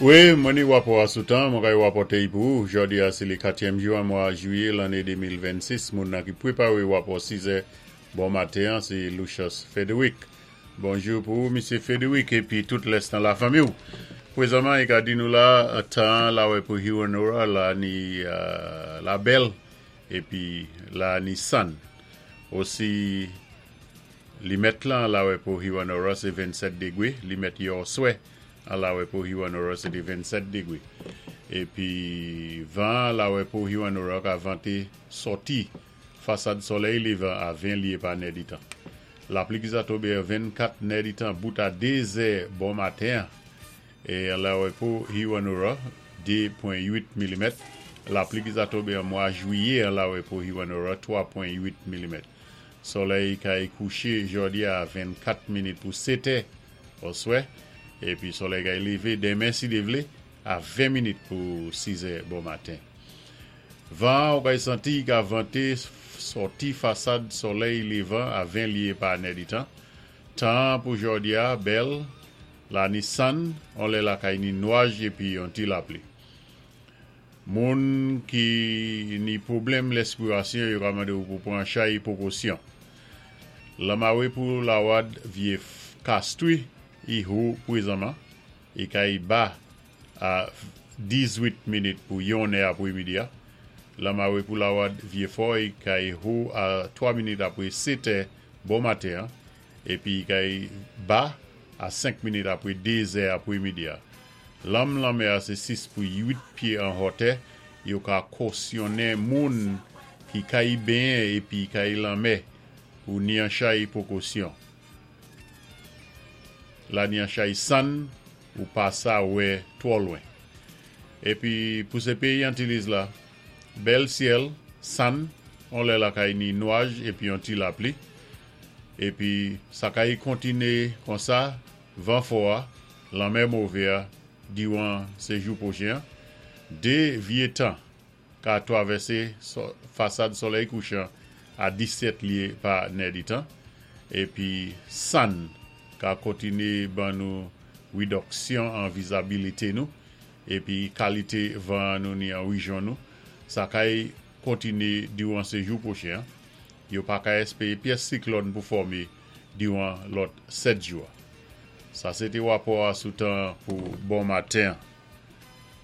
Wi, mwen ni wapò a sou tan, mwen kay wapòté-y pou ou. Jòdi a sé lé katyèm jou an mwa jwiyé lanné 2026. Moun nan ki pwépawé wapò 6 è bon maten an sé Lucius Frédéric. Bonjou pou ou, Misyé Frédéric, épi tout lès nan lafanmi-w. Pwézanman, i ka di nou la, tan an lawè pou Hewanorra la ni la bèl épi la ni sann. Osi, limèt lan lawè pou Hewanorra sé 27 dégwé, limèt yèoswè an lawè pou Hewanorra sé té 27 dégwé. Épi van an lawè pou Hewanorra ka vanté sòti fasad solèy lévan a 20 lyé pa nèditan. Lapli ki sa tonbé an 24 nèditan bout a 2 zè bon maten an é an lawè pou Hewanorra 2.8 milimèt. Lapli ki sa tonbé an mwa jwiyé an lawè pou Hewanorra 3.8 milimèt. Solèy kay kouché jòdi a 24 minit pou 7 è oswè épi solèy kay lévé denmen si Dye vlé a 20 minit pou 6 è bon maten. Van an ou kay santi i ka vante sòti fasad solèy levan a 20 lye pa nèditan. Tan an pou jòdi a bèl, la ni sann, on lè lakay ni nwaj epi yon ti lapli. Moun ki ni pwoblèm lèspirasyon yo ka mande ou pou pran chay pwokosyon. Lanmawe pou lawad vye Castries i ho pwezanman i kay ba A 18 minit pou yon è apwé midi a, lanmawe pou lawad Vyé Fòy kay ho a 3 minit apwé 7 è bon maten an, épi kay ba a 5 minit apwé 2 zè apwé midi a. Lanm lanmè a sé 6 pou 8 pyé an hòtè, yo ka kosyonnen moun ki kay benyen épi kay lanmè pou ni an chay pwokosyon. La ni an chay sann ou pa sa wè twò lwen. Epi pou se peyi Antiliz la, bèl syèl, sann, on lè lakay ni nwaj epi yon ti lapli. Epi sa kay kontine konsa, van fò a, lanmè move a, diwan se jou pwochen an. 2 vye tan ka twavèse fasad solèy kouchan a 17 lye pa nèditan, epi sann ka kontine ban nou ridòksyon an vizabilite nou, epi kalite van nou ni an rijyon nou, sa kay kontine diwan sejou pwochen an. Yo pa ka espeye pyès siklòn pou fòme diwan lòt 7 jou a. Sa se te wapò a sou tan pou bon maten an.